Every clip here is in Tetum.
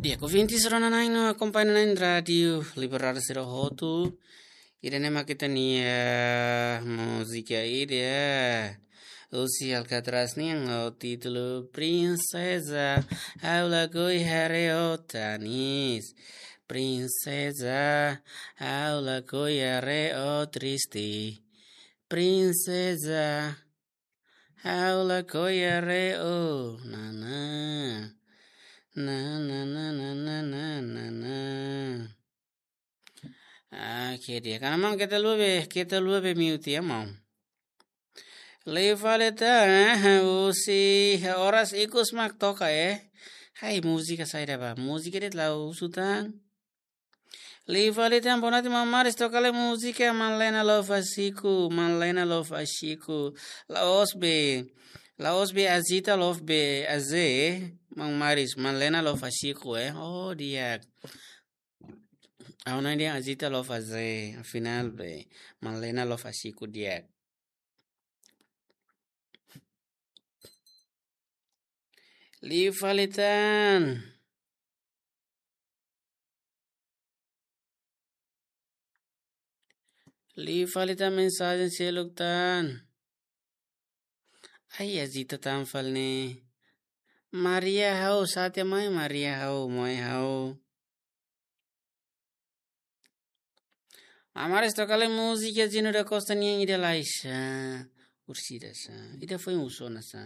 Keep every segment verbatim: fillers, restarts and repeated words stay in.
Ya, ku vinti sira ona na'in no akompaña na'in Rádiu Liberdade sira hotu. Ida-ne'e mak ita-nia múzika ida. Husi Alcatraz nian ho títulu Prinseza, ha'u lakohi haree ó tanis. Prinseza, ha'u lakohi haree ó triste. Prinseza, ha'u lakohi haree ó, nana. Nana, nana, nana, nana. Ah, ke dia. Karena maun keta luabe, keta luabe mute ya, maun. Liu fali tan, eh, husi oras ikus mak toka, eh. Hai, múzika saida ba. Múzika de'it la'ós husu tan. Liu fali tan, boa noite, maun Maris, toka lai múzika Malena Love Asiku, Malena Love Asiku. La'ós be, la'ós be Azita Love be Aze, maun Maris, Malena Love Asiku, eh. Oh, di'ak. Ha'u hanoin dehan Azita Love Aze, afinál be Malena Love Asiku di'ak. Liu fali tan. Liu fali tan mensajen seluk tan. Ai, Azita tan fali ne'e. Maria ha'u, sate mai Maria ha'u, moe ha'u. Maun Maris, toka lai múzika Gino da Costa nian ida lai sa. Ursida sa. Ida foin husu ona sa.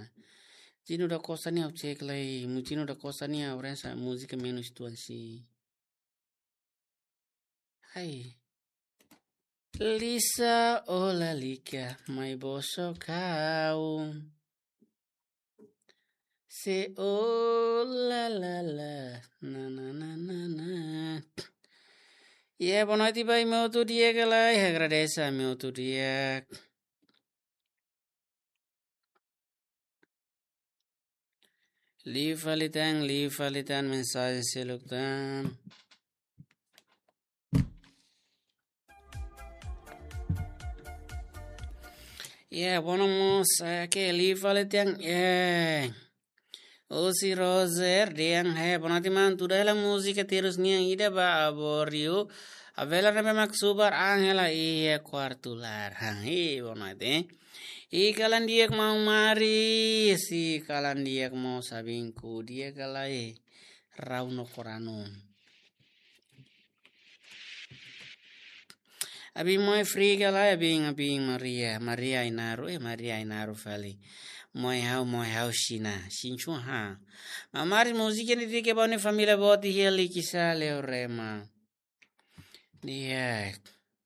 Gino da Costa nian ha'u cek lai. Mu Gino da Costa nian ha'u rasa múzika menus tuan si. Hai. Lisa, ó lalika, mai bosok ha'u. Se, oh, la, la, la, na, na, na, na, na. Ya, boa noite ba imi hotu di'ak ka lae, agradese imi hotu di'ak. Liu fali tan, liu fali tan, mensajen seluk tan. Ya, boa noite, mós, eh, ke liu fali tan, eh. Husi Roser, dehan, eh, boa noite, maun, tuda hela múzika terus nian ida ba Aborio. Avela ne'ebé mak subar an hela iha kuartu laran. Hi, boa noite, eh. I kalan di'ak maun Maris, i kalan di'ak mós abinku, di'ak ka lae, rau no koranu. Abin moe Fri ka lae, abin, abin Maria, Maria Inaru, eh, Maria Inaru fali. Moe ha'u, moe ha'u Xina, Xinchun ha. Maun Maris, múzika ne'e dedika ba ó-nia família boot iha Likisá, Leorema. Di'ak.